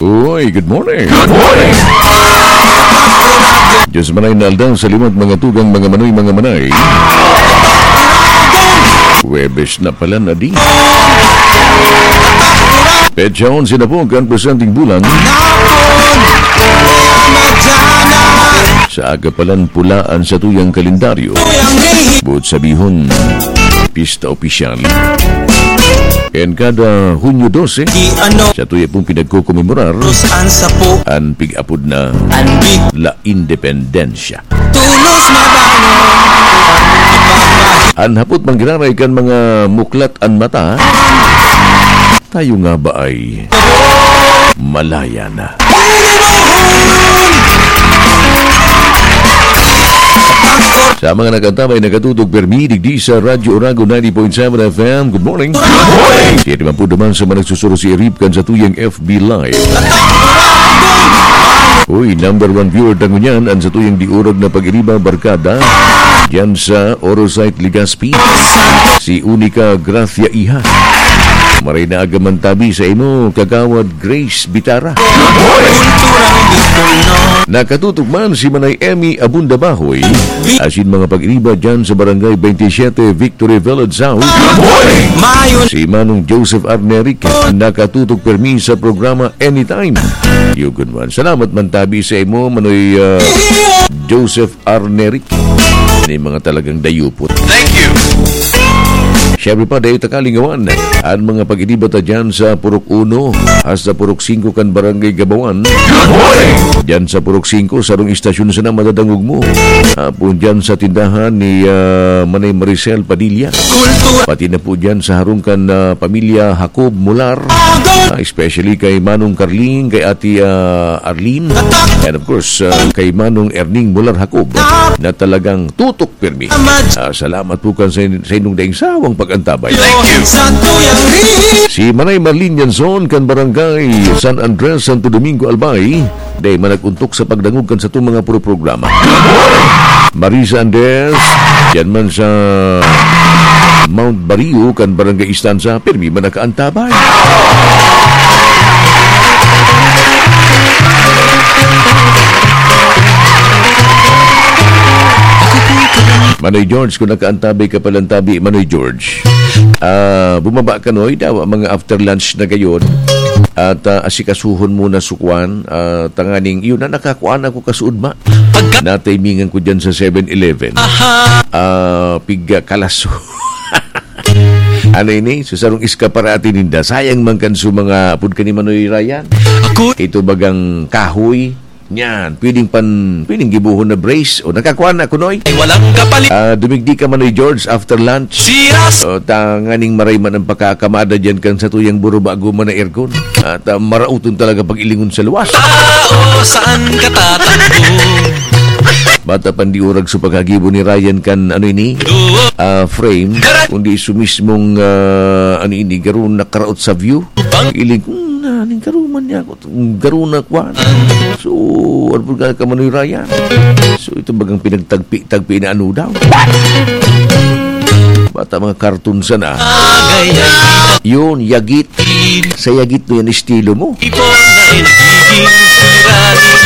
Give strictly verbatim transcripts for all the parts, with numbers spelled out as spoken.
Uy, good morning. Good morning. Diyos manay na aldaw sa liwat, mga tugang, mga manoy, mga manay. Huwebes na pala na di. Petsa onse na po kan presenteng bulan. Sa aga palan pulaan sa tuyang kalendaryo. Buot sabihon, pista opisyal. And kada Hunyo dose, Di ano sa tuya pong pinagkokomemorar, Cruz ang sapo, an pig-apod na an big La Independencia. Tulos mabangon. An hapot manggiraray kan mga muklat an mata, tayo nga ba ay malaya na? Sa mga nag-antabay, nakatutok permi digdi sa Radyo Oragon ninety point seven F M. Good morning. Good morning. Kaya naman po naman sa mga nagsusurosi-rip kan sa tuyang F B Live. Uy, number one viewer ta ngunyan, an sa tuyang diurag na pag-iriba, barkada, diyan sa Orosite, Legazpi, si Unica Gracia Iha. Maray na aga man tabi sa imo, Kagawad Grace Bitara. Nakatutok man si Manay Emmy Abunda Bahoy, asin mga pag-iriba diyan sa Barangay twenty-seven, Victory Village South. Mayon. Si Manong Joseph Arneric, nakatutok permi sa programa Anytime. Yugon man. Salamat man tabi sa imo, Manoy, ah, Joseph Arneric. Ini mga talagang dayupot. Thank you. Siyempre pa, dahil ta kalingawan, an mga pag-iriba ta dyan sa Purok Uno hasta Purok Singko kan Barangay Gabawan. Good morning! Dyan sa Purok Singko, sarong istasyon sana madadangog mo. Hapon dyan sa tindahan ni, ah, Manay Maricel Padilla. Kultura. Pati na po dyan sa harong kan, ah, pamilya Jacob Mular. Ah, especially kay Manong Carling, kay Ate, ah, Arlene. And of course, ah, kay Manong Erning Mular Jacob na talagang tutok pirmi. Ah, salamat po kan sa, sa inyong daing sawang pag-antabay. Thank you. Sa tuyang ri- Si Manay Marlene Yanson kan Barangay San Andres, Santo Domingo, Albay, dai man nag-untok sa pagdangog kan satong mga puro programa. Marisa Andres, diyan man sa Mount Bario kan Barangay Istanza, pirmi man nakaantabay. Manoy George, kung nakaantabay ka palang tabi, Manoy George. Ah, bumaba ka, Noy, dawa mga after lunch na gayon. At, ah, asikasuhon mo na sukwan, ah, tanganing, yun na, nakakuan ako kasuod, ma. Pagka- Natimingan ko dyan sa Seven Eleven. Aha. Ah, pig, ah, kalaso. Ano ini? Sa sarong eskaparate ninda. Sayang man kan su mga apod ka ni Manoy Ryan. Ako. Ito bagang kahoy. Yan. Pwedeng pan, pwedeng gibohon na brace. O, nakakuha na, Kunoy. Ay, walang kapalit. Ah, dumigdi ka, Manoy George, after lunch. Siras. O, tanganing maray man ang pakakamada dyan kan sa tuyang buro bago man na aircon. At, ah, marauton talaga pag-ilingon sa luwas. Tao, saan ka tatakbo? Bata pang di urag sa paghagibo ni Ryan kan, ano ini? Duo. Ah, frame. Karat. Kundi su mismong, ah, ano ini, garo nakaraot sa view. Bang. Iling, "Hmm, naning karuman niya ako. Garo na kwan." So, ano po ka, Manoy Ryan? So, ito bagang pinagtagpi-tagpi na ano daw? Bata mga karton sana. Agay, ay. Yun, yagit. Sa yagit mo yan, estilo mo. Ipon na nagiging suliranin.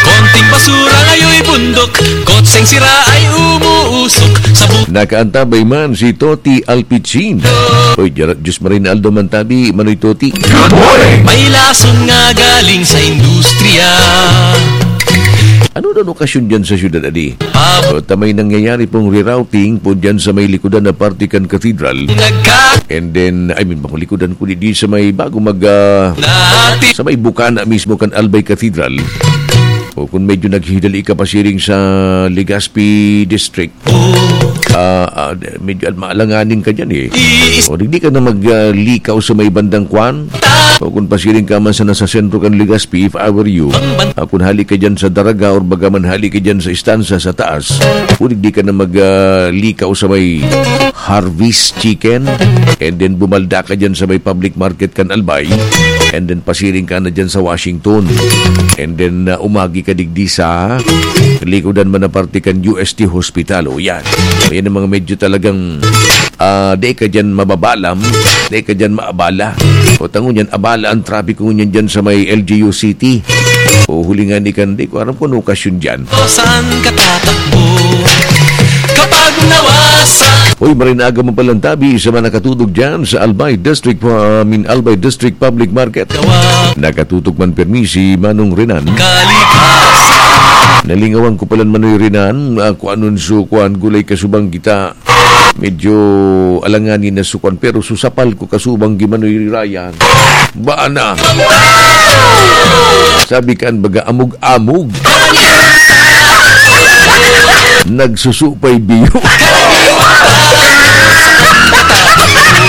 Konting basura ngayon bundok. Kotseng sira ay umuusok. Sa bu- Nakaantabay man si Toti Alpichin. Oy, Diyar-, Diyos Marinaldo Mantabi, Manoy Toti. Good morning! May lason nga galing sa industriya. Ano na okasyon dyan sa syudad, adi? Pab- So, ta may nangyayari pong rerouting po dyan sa may likodan na parte kan cathedral. Nagka- And then, I mean, bako likodan ko di, di sa may bago mag, ah, Nati- sa may bukana mismo kan Albay Cathedral. O kung medyo naghihidali ka pasiring sa Legazpi District, ah, ah, medyo maalanganin ka dyan eh. Iis- O, di, di ka na mag, ah, likaw sa may bandang kwan. O kung pasiring ka man sa nasa sentro kan Legazpi, if I were you, ah, kung hali ka dyan sa Daraga or baga man hali ka dyan sa istansa sa taas, pwede di ka na mag, ah, likaw sa may Harvest Chicken, and then bumalda ka dyan sa may public market kan Albay, and then pasiring ka na dyan sa Washington, and then, ah, umagi kadigdi sa likodan man na parte kan U S T Hospital. O yan. O yan ang mga medyo talagang, ah, di ka dyan mababalam, di ka dyan maabala. O tango niyan, abala ang trapiko niyan dyan sa may L G U City. O hulingan ni kan, di ko aram kung ano okasyon dyan. Saan ka tatakbo? Kapag nawasak. Uy, maray na aga mo palang tabi sa mga nakatudog dyan sa Albay District, uh, I mean, Albay District Public Market. Nakatutok man pirmi si Manong Renan. Kalikasan. Nalingawan ko palan, Manoy Renan, ah, kung anon su-, kuan, gulay kasubang kita. Medyo alanganin na su-, kuan, pero susapal ko kasubang gi Manoy Ryan. Baan na? Sabi kan baga, amog-amog. Nagsusupay biyo.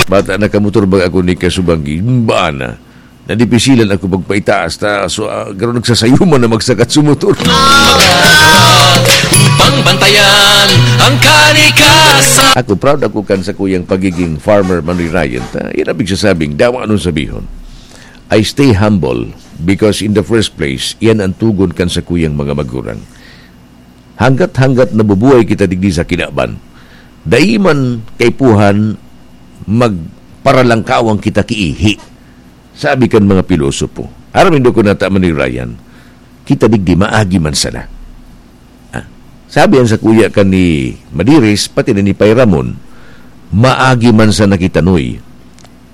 Bata na kamotor baga ako ni kasubang gi. Baan na? Nadipisilan ako magpaitaas ta, so, ah, garo nagsasayuman na magsakat sa motor. Upang bantayan ang kalikasan. Ako, proud ako kan sa kuyang pagiging farmer, Manoy Ryan. Ta, yan ang pigsasabing, dawa anong sabihon. I stay humble because in the first place, yan ang tugon kan sa kuyang mga magurang. Hanggat-hanggat nabubuhay kita digdi sa kinaban, dai man kaipuhan magparalangkawang kita kiihi. Sabi kan mga pilosopo, aram nindo kun nata man ni Ryan, kita digdi maagi man sana. Ah, sabi an sakuya kan ni Madiris, pati na ni Pay Ramon, maagi man sana kita, Noy.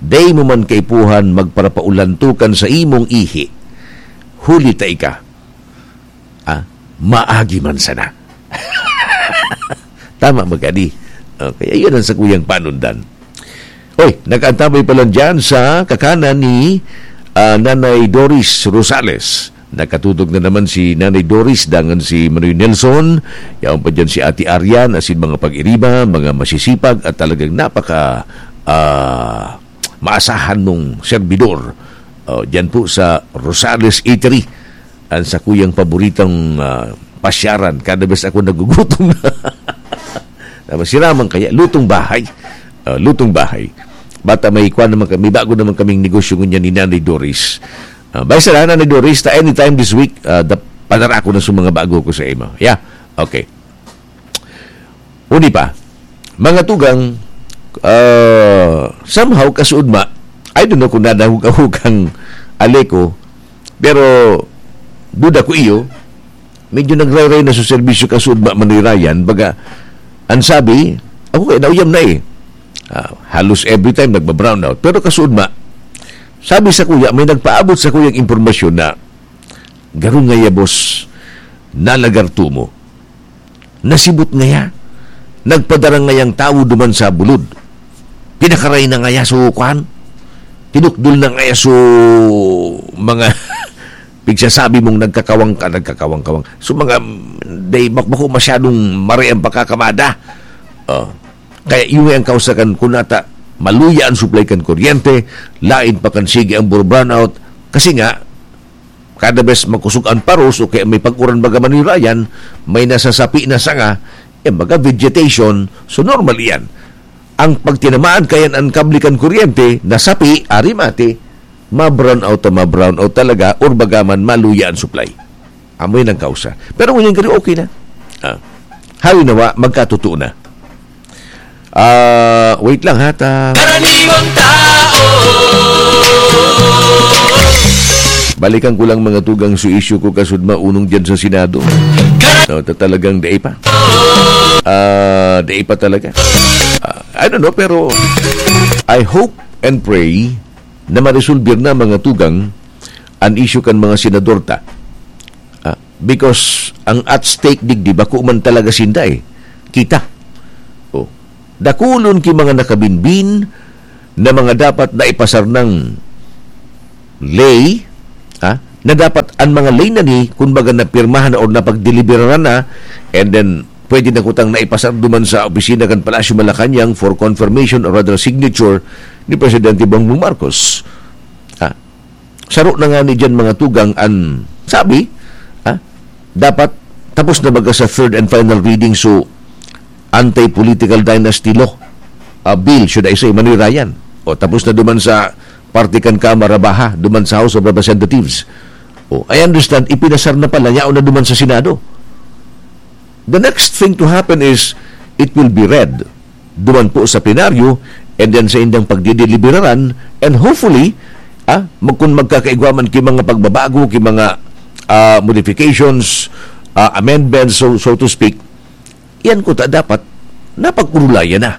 Dai mo man kaipuhan magparapaulantokan sa imong ihi. Huli ta ika. Ah, maagi man sana. Tama magani. Okay, ayun ang sakuyang panundan. Oy, nakaantabay pa lang dyan sa kakanan ni, ah, Nanay Doris Rosales. Nakatutok na naman si Nanay Doris, dangan si Manoy Nelson, yaon pa dyan si Ate Arian, asin mga pag-iriba, mga masisipag at talagang napaka, ah, maasahan mong serbidor. Oh, dyan po sa Rosales Eatery, ang sakuyang paboritong, ah, pasyaran. Kada bes ako nagugutom na. Tapos sila man kaya, lutong bahay. Ah, lutong bahay. Bata may kwan naman kami, bago naman kaming negosyo ngunyan ni Nanay Doris. Ah, bay sana, Nanay Doris, ta anytime this week, ah, da-, padara ko na sa mga bago ko sa imo. Yeah? Okay. Uni pa, mga tugang, ah, somehow kasuodma, I don't know kung nadahog-ahog ang Aleco, pero duda ko iyo, medyo nagrayray na sa serbisyo kasuodma, Manoy Ryan, baga, ang sabi, ako kaya nauyam na eh. Ah, halos every time nagba-brownout. Pero kasuodma, sabi sa kuya, may nagpaabot sa kuyang impormasyon na garo ngaya, boss, nalagarto mo. Nasibot ngaya. Nagpadara ngayang tawo duman sa bulod. Pinakaray na ngaya so, kwan? Tinukdol na ngaya so, mga pigsasabi mong nagkakawang ka, nagkakawang-kawang. So, mga, day, bak-, bako masyadong mare ang pagkakamada. Oh. Kaya yung ang kausa kan kunata, maluya ang supply kan kuryente, lain pa kan sige ang bur-, brownout. Kasi nga, kada bes makusog ang paros o kaya may pag-uran baga manirayan, may nasasapi na sanga, eh, baga vegetation, so normal iyan. Ang pagtinamaan kayan ang kable kan kuryente, nasapi, ari mati, ma-brown out, ma-brown out talaga, or baga man maluya ang supply. Amoy nang kausa. Pero ngunyan gari, okay na. Ah. Hawi nawa, magkatotoo na. Ah, wait lang ha, ta- Karaniwang tao. Balikan ko lang mga tugang su issue ko kasud maunong dyan sa Senado. Kar- No, ta-, talagang dai pa. Ah, dai pa talaga. Ah, I don't know, pero I hope and pray na maresolbir na mga tugang an issue kan mga senador ta. Ah, because ang at stake digdi, bako man talaga sinda eh. Kita. Oh. Dakulon ki mga nakabinbin na mga dapat na ipasar ng ley, ah, na dapat ang mga ley na ni, kumbaga, napirmahan na or napagdeliberaran na, and then pwede na kutang naipasar duman sa opisina kan Palasyo Malacañang for confirmation or rather signature ni Presidente Bongbong Marcos. Ah, saro na nga ni dyan mga tugang an sabi, ah, dapat tapos na baga sa third and final reading, so anti-political dynasty law, ah, bill, should I say, Manoy Ryan. O, tapos na duman sa parte kan Kamara Baha, duman sa House of Representatives. Oh, I understand, ipinasar na pala, yaon na duman sa Senado. The next thing to happen is, it will be read duman po sa plenaryo, and then sa indang pagdideliberaran, and hopefully, ah, mag-, kung magkakaigwa man ki mga pagbabago, ki mga, ah, modifications, ah, amendments, so, so to speak, yan kuta dapat napag-urulayan na.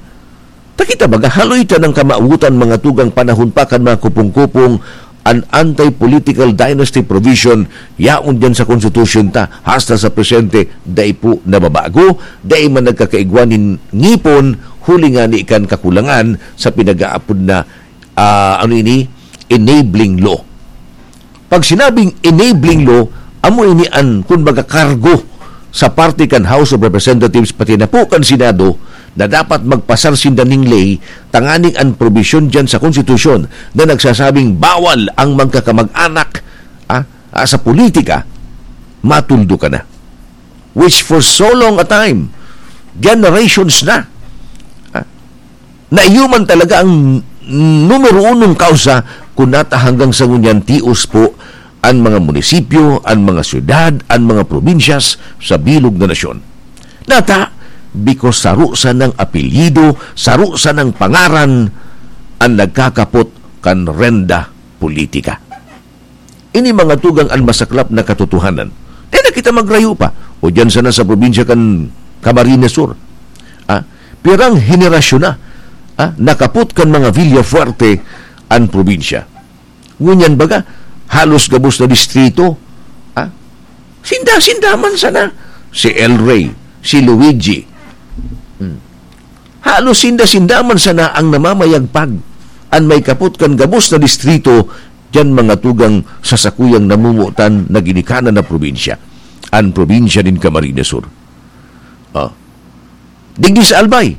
Ta kita baga, haloy ta nang kamawotan mga tugang panahon pa kan mga kupong-kupong an anti-political dynasty provision yaon diyan sa konstitusyon ta. Hasta sa presente, dai po nababago, dai man nagkakaigwa nin ngipon, huli ngani kan kakulangan sa pinag-aapod na, ah, ano ini, enabling law. Pag sinabing enabling law, amo ini an, kun baga, kargo sa parte kan House of Representatives pati na po kan Senado na dapat magpasar sinda ning ley tanganing an probisyon diyan sa konstitusyon na nagsasabing bawal ang magkakamag-anak, ah, ah, sa politika, matuldo ka na. Which for so long a time, generations na, ah, na iyo man talaga ang numero unong kausa kun nata hanggang sa ngunyan tios po an mga munisipyo, an mga syudad, an mga probinsyas sa bilog na nasyon. Nata, because saro sanang apelyido, saro sanang pangaran an nagkakapot kan renda politika. Ini mga tugang an masaklap na katotohanan. Dai na kita magrayo pa. O diyan sana sa probinsya kan Camarines Sur. Ah, pirang henerasyon na, ah, nakapot kan mga Villafuerte an probinsya. Ngunyan baga, halos gabos na distrito. Ah, sinda-sinda man sana. Si El Rey, si Luigi. Hmm. Halos sinda-sinda man sana ang namamayagpag. An may kapot kan gabos na distrito, diyan mga tugang sa sakuyang namomotan na ginikanan na probinsya, an probinsya nin Camarines Sur. Ah. Digdi sa Albay.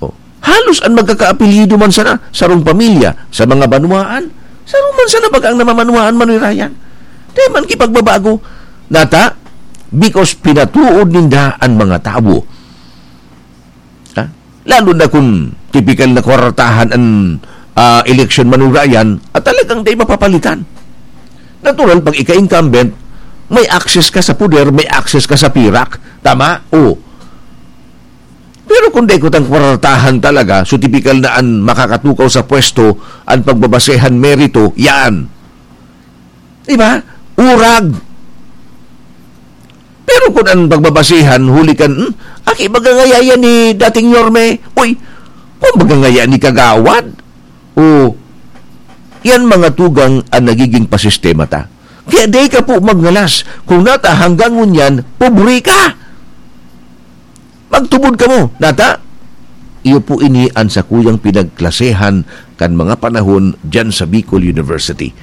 Oh. Halos an magkakaapelyido man sana, sarong pamilya, sa mga banwaan, saro man sana baga ang namamanwaan, Manoy Ryan. Dai man kipagbabago. Nata, because pinatuod ninda an mga tawo. Ha? Lalo na kung tipikal na kwartahan an, ah, eleksyon, Manoy Ryan, at talagang dai mapapalitan. Natural, pag ika-incumbent, may access ka sa poder, may access ka sa pirak. Tama? O. Pero kung dai kutang kwartahan talaga, so tipikal na an makakatukaw sa pwesto, an pagbabasehan merito, yan. Di ba? Urag. Pero kun an pagbabasehan, huli kan, hmm, aki baga ngaya yan ni dating Yorme? Uy, kung baga ngaya ni Kagawad? O, yan mga tugang an nagiging pasistema ta. Kaya dai ka po magngalas. Kung nata hanggang ngunyan, pobre ka. Magtubod kamo, nata? Iyo po ini an sakuyang pinagklasehan kan mga panahon diyan sa Bicol University.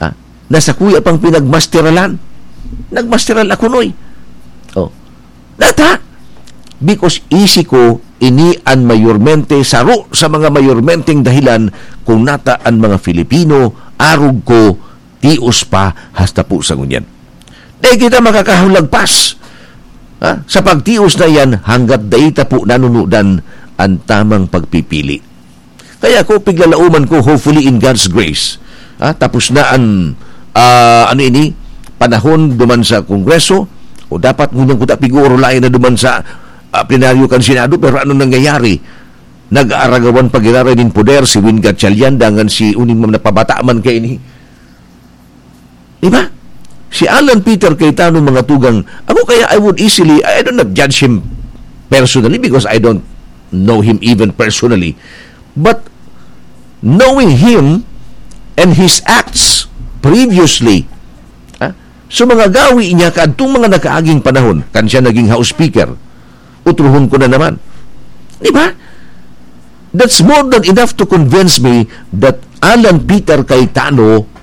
Ah, na sakuya pang pinagmasteralan. Nagmasteral ako, noy. Oh. Nata? Because isi ko, ini an mayormente, saro sa mga mayormenteng dahilan kung nata an mga Filipino, arog ko, tios pa hasta po sa ngunyan. Dai kita makakahulagpas, ha, sa pagtios na iyan hanggat dai ta po nanunudan an tamang pagpipili. Kaya ako, piglalauman ko, hopefully in God's grace, ha, tapos na an, ah, ano ini, panahon duman sa Kongreso, o dapat ngunyan kuta pig-uurulayan na duman sa, ah, plenaryo kan Senado, pero ano nangyayari? Nag-aaragawan pa giraray nin poder si Win Gatchalian dangan si uning mga napabata man kaini. Di ba? Si Alan Peter Cayetano, mga tugang, ako kaya I would easily, I don't not judge him personally because I don't know him even personally. But knowing him and his acts previously, ha? So mga gawi niya kadtong mga nakaaging panahon, kan siya naging House Speaker, utrohon ko na naman. Di ba? That's more than enough to convince me that Alan Peter Cayetano